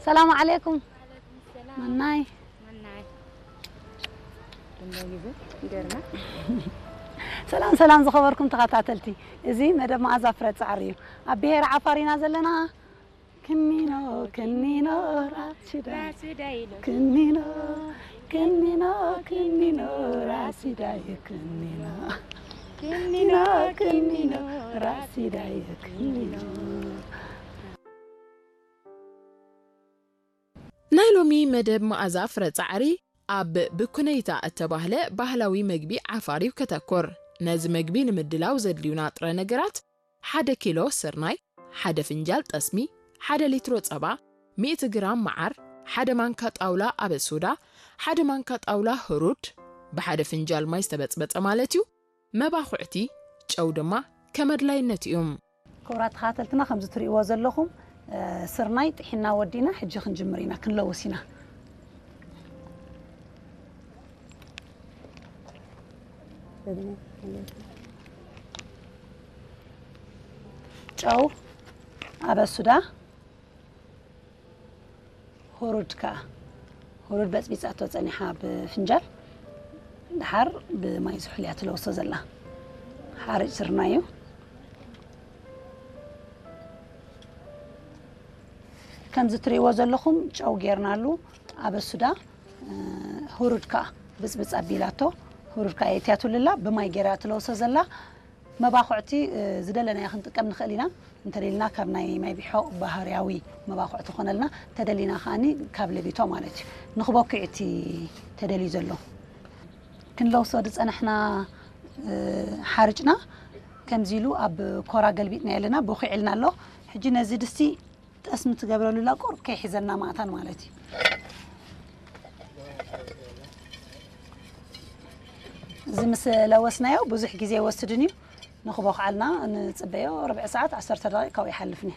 ሰላም ዓለይኩም። መናይ። ሰላም ሰላም ዝኸበርኩም ተኸታተልቲ፣ እዚ መደብ መኣዛ ፍረ ጻዕሪ እዩ። ኣብ ብሄረ ዓፋር ኢና ዘለና። ክኒኖ ክኒኖ ራሲዳይ፣ ክኒኖ ክኒኖ ክኒኖ ራሲዳይ፣ ክኒኖ ክኒኖ ክኒኖ ራሲዳይ፣ ክኒኖ። ናይ ሎሚ መደብ መኣዛ ፍረ ጻዕሪ ኣብ ብኩነይታ እተባህለ ባህላዊ መግቢ ዓፋር እዩ ከተኩር። ነዚ መግቢ ንምድላው ዘድልዩና ጥረ ነገራት፣ ሓደ ኪሎ ስርናይ፣ ሓደ ፍንጃል ጠስሚ፣ ሓደ ሊትሮ ጸባ፣ ሚእቲ ግራም መዓር፣ ሓደ ማንካ ጣውላ ኣበሱዳ፣ ሓደ ማንካ ጣውላ ህሩድ፣ ብሓደ ፍንጃል ማይ ዝተበጽበጸ ማለት እዩ። መባኹዕቲ፣ ጨው ድማ ከም ኣድላይነቱ እዩ። ክቡራት ተኸታተልትና፣ ከምዚ ትርእይዎ ዘለኹም፣ እ፣ ስርናይ ጥሒና ወዲና፣ ሕጂ ክንጅምር ኢና፣ ክንለውስ ኢና። ጨው፣ ኣበሱዳ፣ ሁሩድ ከኣ፣ ሁሩድ በጽቢጻቶ ጸኒሓ ብፍንጃል፣ ደሓር ብማይ ዝሑል እያ ትለውሶ ዘላ። ሓርጭ ስርናይ እዩ። ከምዚ ትርእይዎ ዘለኹም ጨው ጌርናሉ፣ ኣበሱዳ፣ እ፣ ሁሩድ ከኣ ብጽብጽ ኣቢላቶ፣ ሁሩድ ከኣ የእትያትሉ ኣላ፣ ብማይ ጌራ ትለውሶ ዘላ። መባኹዕቲ፣ እ፣ ዝደለናዮ ክንጥቀም ንኽእል ኢና። እንተደሊና ካብ ናይ ማይ ቢሖ ባህርያዊ መባኹዕቲ ኮነልና፣ እንተደሊና ከኣኒ ካብ ለቢቶ ማለት እዩ። ንኽበኩዕ እቲ ተደልዩ ዘሎ። ክንለውሶ ዝጸናሕና፣ እ፣ ሓርጭና ከምዚ ኢሉ ኣብ ኮራ ገልቢጥና ኣለና፣ ቦኺዕልና ኣሎ። ሕጂ ነዚ ድስቲ ጠስሚ ትገብረሉ ኣላ፣ ቁሩብ ከይሒዘና ማእታን ማለት እዩ። እዚ ምስ ለወስናዮ ብዙሕ ግዜ ኣይወስድን እዩ። ንኽቦኽዓልና ንጽበዮ፣ ርብዒ ሰዓት፣ ዓሰርተ ደቂቕ ካብኡ ይሓልፍኒ።